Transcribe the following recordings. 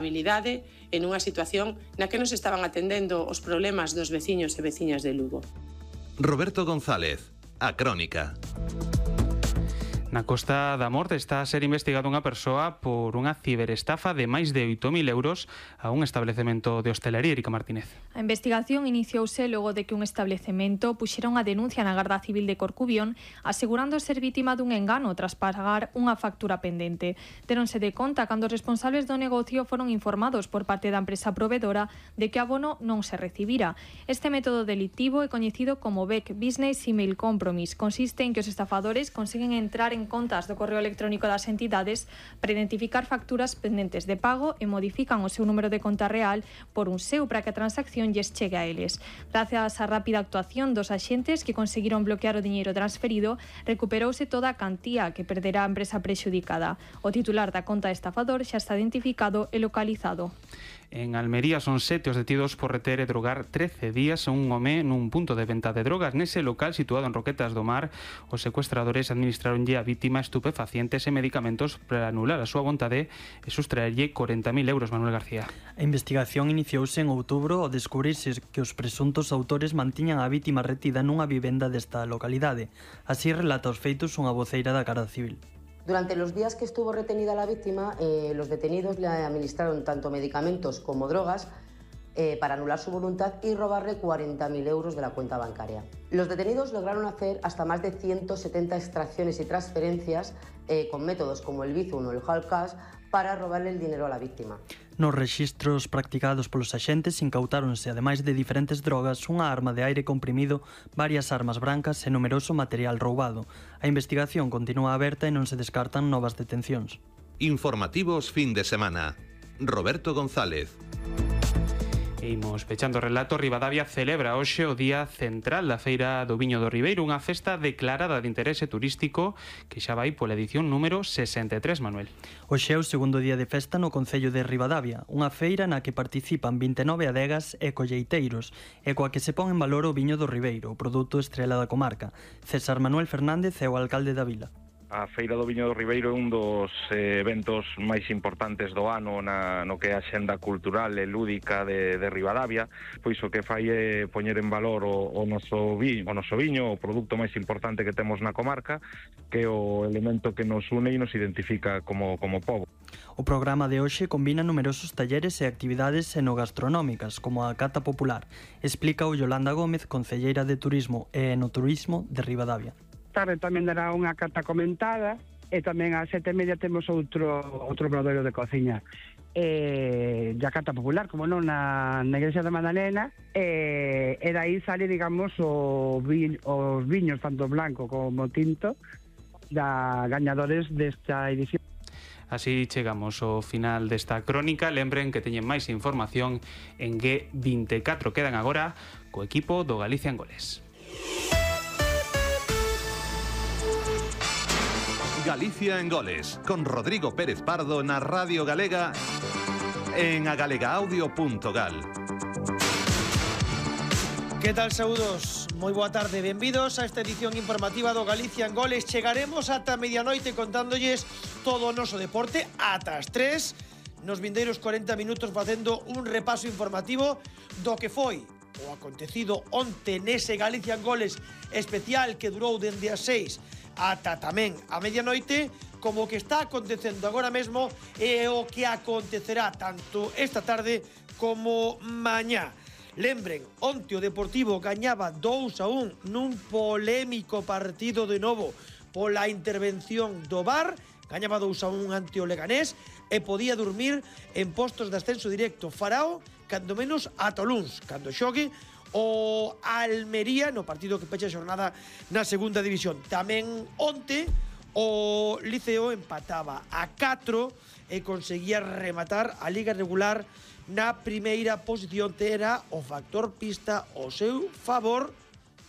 habilidade en unha situación na que nos estaban atendendo os problemas dos veciños e veciñas de Lugo. Roberto González, A Crónica. Na Costa da Morte está a ser investigada unha persoa por unha ciberestafa de máis de 8.000 euros a un establecemento de hostelería. Erika Martínez. A investigación iniciouse logo de que un establecemento puxera unha denuncia na Garda Civil de Corcubión asegurando ser vítima dun engano tras pagar unha factura pendente. Deronse de conta cando os responsables do negocio foron informados por parte da empresa provedora de que abono non se recibira. Este método delictivo é coñecido como BEC, Business Email Compromise. Consiste en que os estafadores conseguen entrar en contas do correo electrónico das entidades para identificar facturas pendentes de pago e modifican o seu número de conta real por un seu para que a transacción lles chegue a eles. Gracias á rápida actuación dos axentes que conseguiron bloquear o diñeiro transferido, recuperouse toda a cantía que perderá a empresa prexudicada. O titular da conta estafador xa está identificado e localizado. En Almería son 7 os detidos por reter e drogar 13 días a un home nun punto de venta de drogas. Nese local situado en Roquetas do Mar, os secuestradores administraronlle a vítima estupefacientes e medicamentos para anular a súa vontade e sustraerlle 40.000 euros. Manuel García. A investigación iniciouse en outubro ao descubrirse que os presuntos autores mantiñan a vítima retida nunha vivenda desta localidade. Así relata os feitos unha voceira da Garda Civil. Durante los días que estuvo retenida la víctima, los detenidos le administraron tanto medicamentos como drogas para anular su voluntad y robarle 40.000 euros de la cuenta bancaria. Los detenidos lograron hacer hasta más de 170 extracciones y transferencias con métodos como el Bizum o el Hall Cash para robarle el dinero a la víctima. Nos rexistros practicados polos axentes incautáronse, ademais de diferentes drogas, unha arma de aire comprimido, varias armas brancas e numeroso material roubado. A investigación continúa aberta e non se descartan novas detencións. Informativos fin de semana. Roberto González. E imos pechando o relato. Ribadavia celebra hoxe o Día Central da Feira do Viño do Ribeiro, unha festa declarada de interese turístico que xa vai pola edición número 63, Manuel. Hoxe é o segundo día de festa no Concello de Ribadavia, unha feira na que participan 29 adegas e colleiteiros e coa que se pon en valor o viño do Ribeiro, o produto estrela da comarca. César Manuel Fernández é o alcalde da vila. A Feira do Viño do Ribeiro é un dos eventos máis importantes do ano no que é a xenda cultural e lúdica de Ribadavia, pois o que fai é poñer en valor o noso viño, o produto máis importante que temos na comarca, que é o elemento que nos une e nos identifica como pobo. O programa de hoxe combina numerosos talleres e actividades enogastronómicas, como a cata popular. Explica o Yolanda Gómez, concelleira de Turismo e Enoturismo de Ribadavia. Tarde tamén dará unha cata comentada e tamén ás 7:30 temos outro obradoiro de cociña e a cata popular, como non, na Igrexa da Madalena e dai sale, digamos, os viños tanto blanco como tinto da gañadores desta edición. Así chegamos ao final desta crónica. Lembren que teñen máis información en G24. Quedan agora co equipo do Galicia en Goles. Galicia en Goles, con Rodrigo Pérez Pardo na Radio Galega en agalegaaudio.gal. Que tal, saúdos? Moi boa tarde, benvidos a esta edición informativa do Galicia en Goles. Chegaremos ata medianoite contándolles todo o noso deporte ata as 3, nos vindeiros 40 minutos facendo un repaso informativo do que foi o acontecido onte nese Galicia en Goles especial que durou dende as 6 ata tamén a medianoite, como o que está acontecendo agora mesmo e o que acontecerá tanto esta tarde como mañá. Lembren, onte o Deportivo gañaba 2-1 nun polémico partido de novo pola intervención do VAR, gañaba 2-1 ante o Leganés e podía dormir en postos de ascenso directo. Farao, cando menos, ata o luns, cando xogue o Almería no partido que pecha a xornada na segunda división. Tamén onte o Liceo empataba a 4 e conseguía rematar a liga regular na primeira posición. Era o factor pista ao seu favor,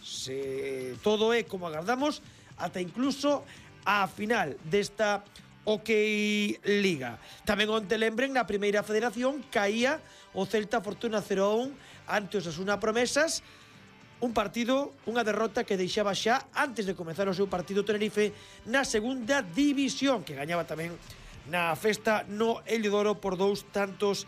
se todo é como agardamos, ata incluso a final desta OK Liga. Tamén onte, lembren, na primeira federación caía o Celta Fortuna 0-1 ante os Osasuna Promesas, un partido, unha derrota que deixaba xa antes de comezar o seu partido Tenerife na segunda división, que gañaba tamén na festa no Ello de Oro por 2 tantos